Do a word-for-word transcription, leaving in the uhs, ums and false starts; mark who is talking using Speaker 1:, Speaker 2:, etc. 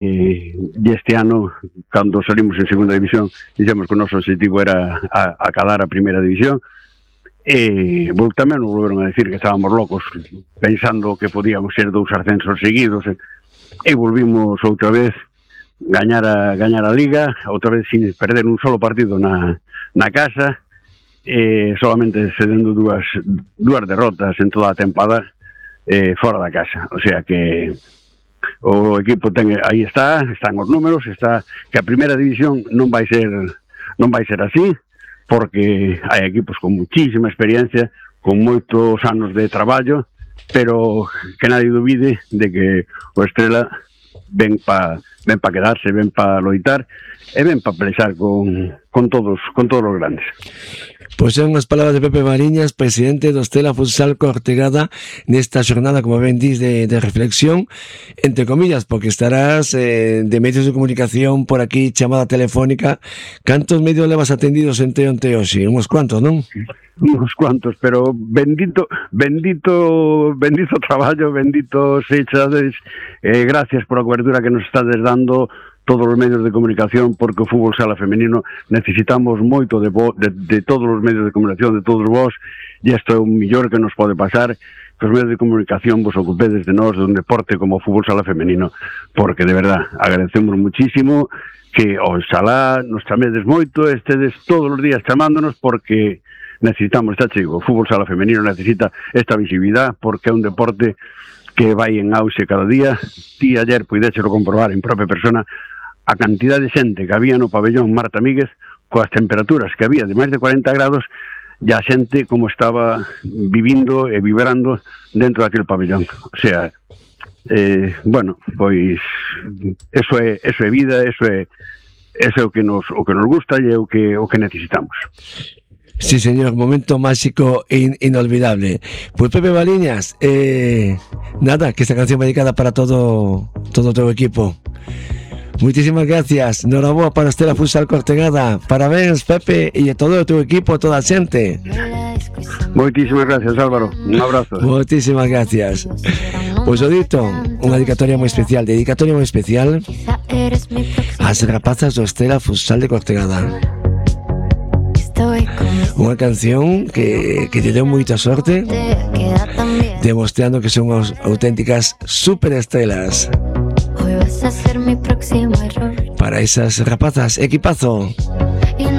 Speaker 1: e este ano, cando salimos en segunda división, dixemos que o noso objetivo era a, acalar a primeira división, e vol, tamén nos volveron a decir que estábamos locos pensando que podíamos ser dous ascensos seguidos, e, e volvimos outra vez gañar a, gañar a Liga, outra vez sin perder un solo partido na, na casa, e solamente cedendo dúas, dúas derrotas en toda a tempada eh, fora da casa, o sea que o equipo ten, aí está, están os números, está que a primeira división non vai ser non vai ser así, porque hai equipos con muchísima experiencia, con moitos anos de traballo, pero que nadie dubide de que o Estrela ven pa ven pa quedarse, ven pa loitar e ven pa pelexar con, con todos con todos os grandes.
Speaker 2: Pois son as palabras de Pepe Mariñas, presidente do Stella Futsal Cortegada, nesta xornada, como ben dis, de, de reflexión, entre comillas, porque estarás eh, de medios de comunicación por aquí, chamada telefónica. Cantos medios levas atendidos entre onte hoxe? Uns cuantos, non?
Speaker 1: Uns cuantos, pero bendito, bendito, bendito traballo, bendito sechades, eh, gracias por a cobertura que nos estades dando todos os medios de comunicación, porque o fútbol sala femenino necesitamos moito de, vo, de, de todos os medios de comunicación, de todos vos, e isto é o millor que nos pode pasar, que os medios de comunicación vos ocupedes de nós, de un deporte como o fútbol sala femenino, porque de verdad agradecemos muchísimo que oxalá nos chamedes moito, estedes todos os días chamándonos, porque necesitamos, está chego, o fútbol sala femenino necesita esta visibilidad, porque é un deporte que vai en auxe cada día. Ti ayer puidéchelo comprobar en propia persona a cantidad de xente que había no pabellón Marta Míguez, coas temperaturas que había de máis de cuarenta grados, e a xente como estaba vivindo e vibrando dentro daquele pabellón. O sea, eh, bueno, pois eso é, eso é vida, eso é, eso é o que nos, o que nos gusta e é o que, o que necesitamos.
Speaker 2: Sí, señor, momento máxico e in, inolvidable. Pues Pepe Mariñas, eh, nada, que esta canción va dedicada para todo todo tu equipo. Muchísimas gracias. Noraboa para Stella Futsal Cortegada. Parabéns, Pepe, e a todo o teu equipo, toda a xente.
Speaker 1: Moitísimas gracias, Álvaro. Un abrazo.
Speaker 2: Moitísimas gracias. Pois o dito, unha dedicatoria moi especial, dedicatoria moi especial ás rapazas do Stella Futsal de Cortegada. Unha canción que, que te deu moita sorte, demostrando que son as auténticas superestrelas. Para esas rapazas, equipazo.